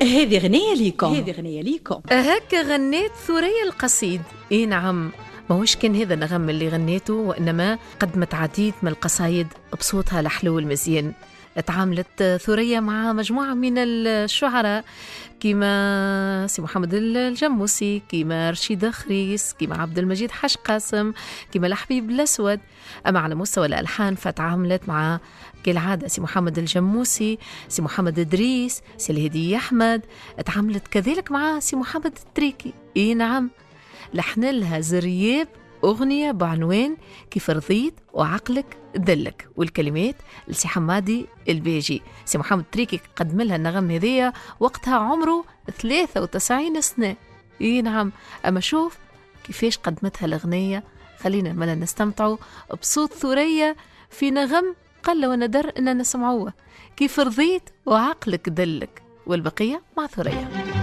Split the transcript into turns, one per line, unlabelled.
هذه غنية ليكم، هذه غنية ليكم.
هكا غنيت ثريا القصيد. اي نعم، ماهوش كان هذا النغم اللي غنيته، وإنما قدمت عديد من القصايد بصوتها الحلو المزيان. تعاملت ثريا مع مجموعة من الشعراء كما سي محمد الجموسي، كما رشيد خريس، كما عبد المجيد حاج قاسم، كما الحبيب الأسود. أما على مستوى الألحان فتعاملت مع كالعادة سي محمد الجموسي، سي محمد إدريس، سي الهدي أحمد. تعاملت كذلك مع سي محمد التريكي. إي نعم، لحن لها زرياب أغنية بعنوان كيف رضيت وعقلك دلك، والكلمات لسي حمادي الباجي. سي محمد تريكي قدم لها النغم هذيا وقتها عمره 93 سنة. إي نعم، أما شوف كيفاش قدمتها الأغنية. خلينا ملا نستمتعوا بصوت ثريا في نغم قل وندر أننا نسمعوه، كيف رضيت وعقلك دلك، والبقية مع ثريا.